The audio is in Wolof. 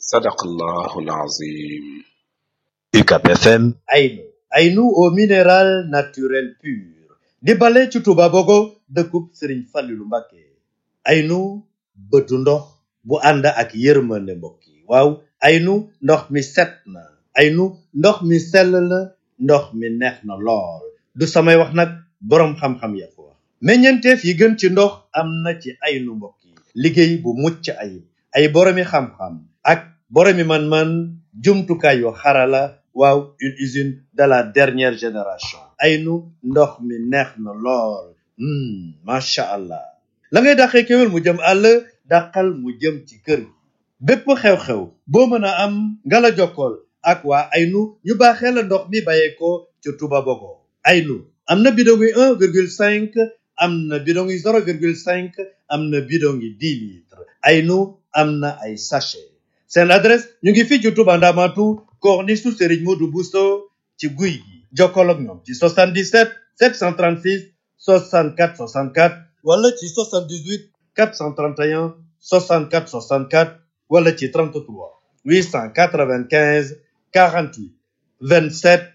Sadaqallahul Azim. UCAB FM. Aynu au minéral naturel pur di bale ci Touba Bogo dëkkub Serigne Fallilou Mbacké. Aynu bëtu ndox bu ànd ak yërmande mbokk yi waaw Aynu ndox mi set na Aynu ndox mi sell na ndox mi neex na lool du samay wax nag boroom xam-xam ya ko wax meññeenteef yi gën ci ndox am na ci Aynu mbokk yi liggéey bu mucc ayib ay boroomi xam-xam ak boroomi man-man jumtukaay yu xarala waaw une usine de la dernière génération Aynu ndox mi neex na lool macha allah la ngay dàqee kéwél mu jëm àll dàqal mu jëm ci kër gi bépp xew-xew boo mën a am nga la jokkool ak waa Aynu ñu baaxee la ndox mi bàyyeekoo ci Touba Bogo Aynu am na bidon yi 1,5 am na bidon yi 0,5 am na bidon yi 10 litres Aynu am na ay sachet seen adresse ñu ngi fii ci Touba Ndamatu corniche su Serigne Modou Bousso ci guy gi jokkoo ak ñoom ci 77 736 64 64 wala ci 78 431 64 64 wala ci 33 895 48 27